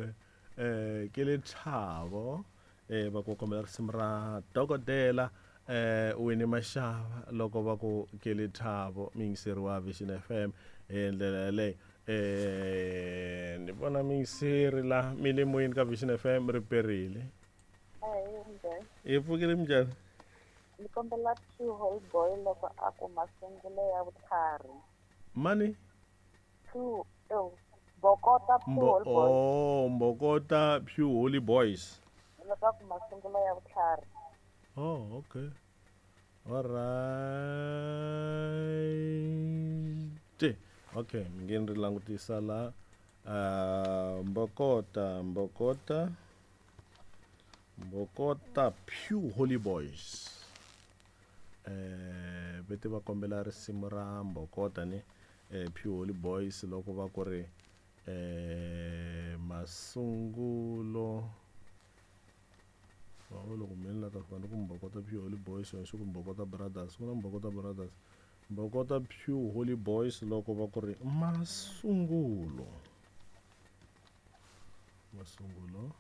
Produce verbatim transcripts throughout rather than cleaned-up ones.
Okay, eh ke le Thabo eh va ku kombela risimu ra dokodela eh Winnie Mashava loko va ku ke le Thabo, miyingiseri wa Vision F M hi ndlela yaleyo. Eh ni vona miyingiseri la mi le moyeni ka Vision F M ri perile. Hi pfukile minjhani? Ni kombela Two Holy Boy loko a ku masungulo ya vutlhari. Mani? Two, oh, Mbokota Pure Holy Boys. Oh, Mbokota Pure Holy Boys. Loko a ku masungulo ya vutlhari. Oh, okay. All right. Okay, mi nge ni ri langutisa la. Uh, Mbokota, Mbokota. Mbokota Pure Holy Boys. Eh, vete va kombela risimu ra Mbokota ni eh Pure Holy Boys loko va ku ri eh masungulo. Va loko mina la ta fika ni ku Mbokota Pure Holy Boys yona xi ku Mbokota Brothers, ku na Mbokota Brothers. Mbokota Pure Holy Boys loko va ku ri masungulo. Masungulo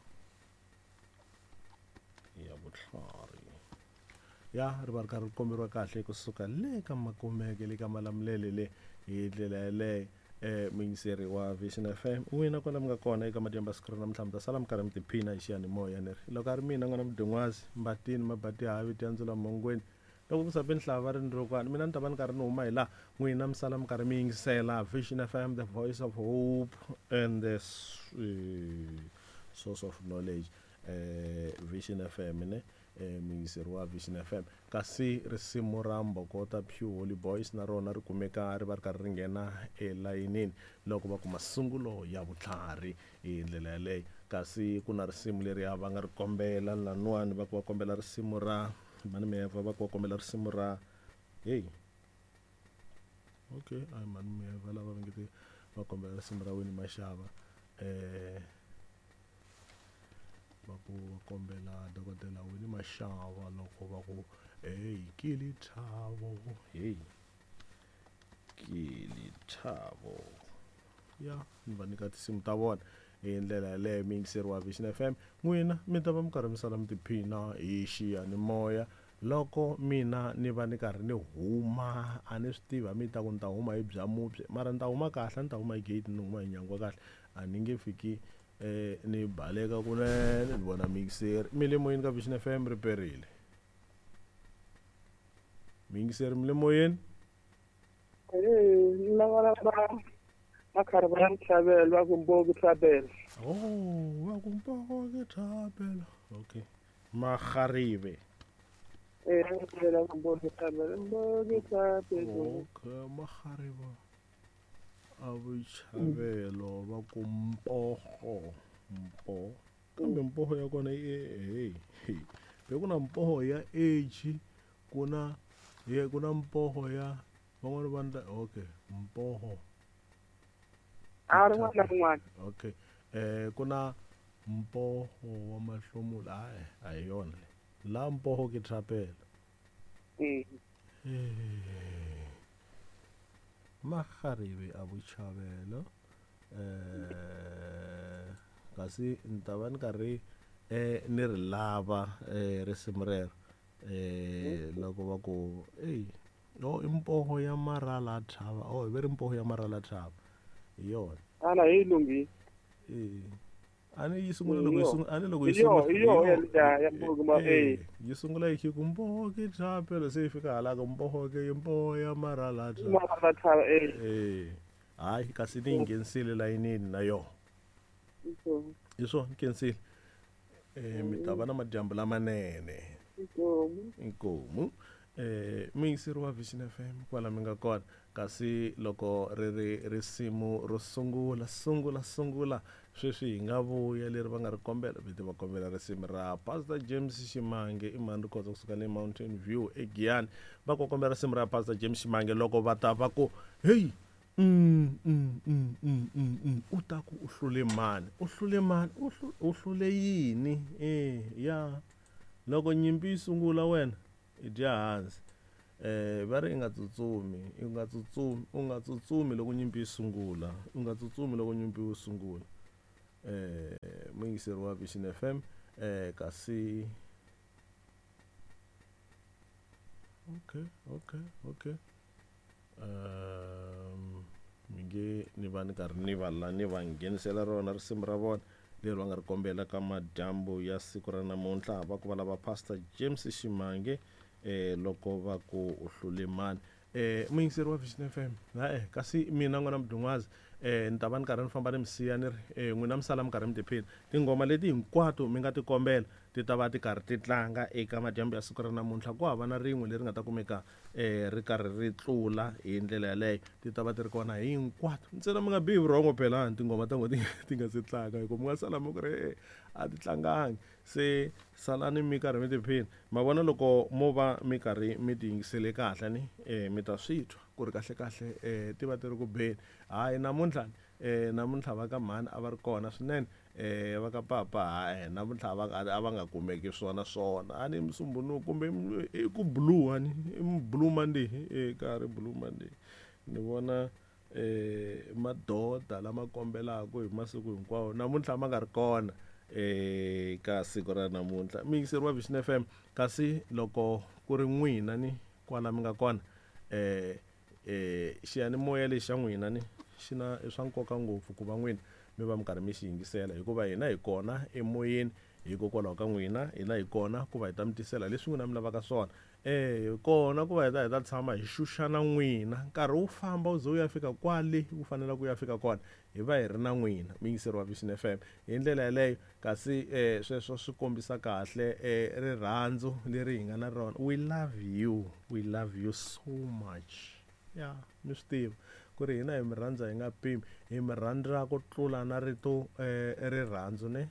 ya vutlhari. Ya ri va ri karhi ri komberiwa kahle kusuka le ka Makumeke le ka Malamulele le hi ndlela yaleyo. Eh muyingiseri wa Vision F M, n'wina kwala mi nga kona eka madyambu ya siku ra namuntlha mi ta sala mi karhi mi tiphina hi xiyanimoya ni ri loko a ri mina n'wana Mudingwazi Mbatini Mabati Havi Tiandzula Mongweni loko ku sape nhlava ri ndzokwani mina ni ta va ni karhi ni huma hi laha n'wina mi sala mi karhi mi yingisela Vision F M, the voice of hope and the source of knowledge. Eh Vision F M ne eh muyingiseri wa Vision F M. Kasi risimu ra Mbokota Pure Holy Boys na rona ri kumeka ri va ri karhi ri nghena elayinini loko va kuma masungulo ya vutlhari hi ndlela yaleyo. Kasi ku na risimu leri va nga ri kombela laniwani va ku va kombela risimu ra Mani Meva, va ku va kombela risimu ra hey okay a Mani Meva lava va nge va kombela risimu ra Winnie Mashava eh va ku va kombela dokodela Winnie Mashava loko va ku hey ke le Thabo, hey ke le Thabo. Ya ni va nyika tinsimu ta vona hi ndlela yaleyo. Muyingiseri wa Vision F M, n'wina mi ta va mi karhi mi sala mi tiphina hi xiyanimoya loko mina ni va ni karhi ni huma. A ni swi tivi a mi ta ku ni ta huma hi bya mubye, mara ni ta huma kahle, a ni ta huma hi gate, ni huma hi nyangwa kahle, a ni nge fiki eh ni baleka kunene. Ni vona muyingiseri mi le moyeni ka Vision F M ri perile. Muyingiseri mi le moyeni? Eh, ni lava va Makhari va Mthabelo, va ku Mboki Thabelo. Oh, va ku Mboki Thabelo. Okay. Makharibe. Eh, va ku Mboki Thabelo, Mboki Thabelo. Okay, Makharibe. A Vuchavelo va ku Mpoho, Mpo. Kambe Mpoho ya kona i hey. Be ku na Mpoho ya H, ku na ye ku na Mpoho ya van'wana va ndla okay, Mpoho. A ri n'wana na rin'wana. Okay. Eh ku na Mpoho wa Mahlomula, hayi a hi yona le. La Mpoho ke Thapelo. Eh. Makharibe a Vuchavelo. Eh kasi ni ta va ni karhi eh ni ri lava eh risimu rero eh loko va ku ey oh i Mpoho ya Marala Thaba, oh hi ve ri Mpoho ya Marala Thaba hi yona. Ala hi lunghi. Eh a ni yi sungula loko yi sungula, a ni loko yi Hi yo, sungula hi yo ya ya Mpoho ma eh yi sungula yi ku Mpoho ke Thapelo, se yi fika hala ka Mpoho ke Mpoho ya Marala Thaba. Marala Thaba eh. Eh hayi kasi ni yi nghenisile layinini na yona. Hi swona ni khensile. Eh mi ta va na madyambu lamanene. Inkomu. Inkomu. Eh muyingiseri wa Vision F M kwala mi nga kona. Kasi loko ri ri risimu ro sungula sungula sungula sweswi hi nga vuya leri va nga ri kombela, vete va kombela risimu ra Pastor James Ximange i mani ri kota kusuka le Mountain View eGiyani. Va ku kombela risimu ra Pastor James Ximange loko va ta va ku hey mm mm mm mm mm mm u ta ku u hlule mani, u hlule mani, u u hlule yini? Eh ya loko nyimpi yi sungula wena i dya hansi. Eh va ri i nga tsutsumi, i nga tsutsumi, u nga tsutsumi loko nyimpi yi sungula, u nga tsutsumi loko nyimpi yi sungula. Eh muyingiseri wa Vision F M eh kasi okay okay okay um mi nge ni va ni karhi ni va la ni va nghenisela rona risimu ra vona leri va nga ri kombela ka madyambu ya siku ra namuntlha. Va ku va lava Pastor James Ximange eh loko va ku u hlule mani. Eh muyingiseri wa Vision F M ha eh kasi mina n'wana Mdungwazi eh ni ta va ni karhi ni famba ni mi siya ni ri eh n'wina mi sala mi karhi mi tiphina. Tinghoma leti hinkwato mi nga ti kombela ti ta va ti karhi ti tlanga eka madyambu ya siku ra namuntlha. Ku hava na rin'we leri nga ta kumeka eh ri karhi ri tlula hi ndlela yaleyo, ti ta va ti ri kona hinkwato. Ntsena mi nga bihi vurhongo phela tinghoma ta n'wina ti nga se tlanga, hi ku mi nga sala mi ku ri a ti tlangangi. Se salani mi karhi mi tiphina. Ma vona loko mo va mi karhi mi ti yingisele kahle ni eh mi ta swi twa ku ri kahle kahle eh ti va ti ri ku beni. Hayi namuntlha eh namuntlha va ka mhani a va ri kona swinene, eh va ka papa hayi namuntlha va a va nga kumeki swona swona. A ni Musumbunuku kumbe i ku blue ani i blue Monday eh ka ri blue Monday ni vona eh madoda lama kombelaka hi masiku hinkwawo namuntlha ma nga ri kona eh ka siku ra namuntlha. Muyingiseri wa Vision F M, kasi loko ku ri n'wina ni kwala mi nga kona eh eh xiyanimoya lexi xa n'wina ni xi na i swa nkoka ngopfu ku va n'wina mi va mi karhi mi xi yingisela, hikuva hina hi kona emoyeni hikokwalaho ka n'wina, hina hi kona ku va hi ta mi tisela leswi n'wina mi lavaka swona. Eh hi kona ku va hi ta hi ta tshama hi xuxana n'wina nkarhi wu famba wu ze wu ya fika kwale wu faneleke ku ya fika kona, hi va hi ri na n'wina muyingiseri wa Vision F M hi ndlela yaleyo. Kasi eh sweswo swi kombisa kahle eh rirhandzu leri hi nga na rona. We love you, we love you so much. Ya mi swi tiva ku ri hina hi mi rhandza hi nga pimi, hi mi rhandza ku tlula na rito eh rirhandzu ne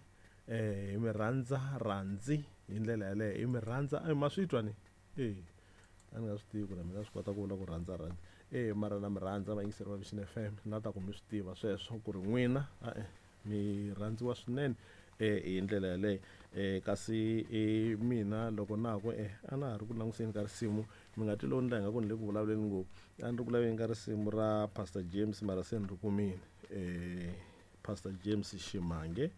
eh hi mi rhandza rhandzi hi ndlela yaleyo, hi mi rhandza ma swi twa ni eh a ni nga swi tivi ku na mina swi kota ku vula ku rhandza rhandzi eh mara na mi rhandza vayingiseri va Vision F M, na ta ku mi swi tiva sweswo ku ri n'wina e mi rhandziwa swinene eh hi ndlela yaleyo. Eh kasi eh mina loko na ku eh a na ha ri ku languseni ka risimu, mi nga twi lowu ni la nga ku ni le ku vulavuleni ngopfu, a ni ri ku laveni ka risimu ra Pastor James mara se ni ri kumile eh Pastor James Ximange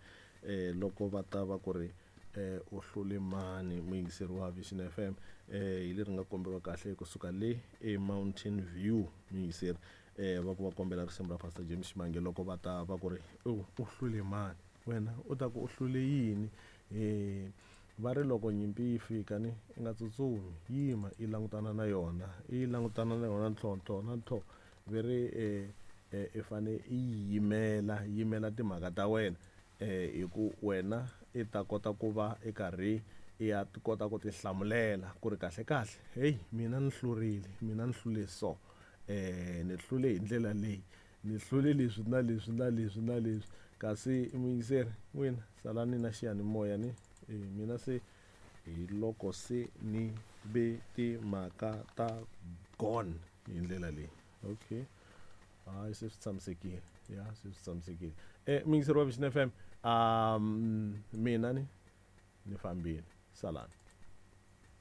eh loko va ta va ku ri eh u hlule mani muyingiseri wa Vision F M eh hi leri nga komberiwa kahle kusuka le e Mountain View muyingiseri eh va ku va kombela risimu ra Pastor James Ximange loko va ta va ku ri u hlule mani, wena u ta ku u hlule yini? Eh va ri loko nyimpi yi fika ni i nga tsutsumi, yima i langutana na yona, i langutana na yona ntlhontlho na ntlho ve ri eh i fane i yimela yimela timhaka ta wena eh hi ku wena i ta kota ku va i karhi i ya kota ku tihlamulela ku ri kahle kahle hey mina ni hlurile, mina ni hlule so eh ni hlule hi ndlela leyi, ni hlule leswi na leswi na leswi na leswi. Kasi muyingiseri n'wina salani na xiyanimoya ni eh mina se hi loko se ni ve timhaka ta gone hi ndlela leyi. Okay hayi se swi tshamisekile, ya se swi tshamisekile. Eh muyingiseri wa Vision F M um mina ni ni fambile, salani.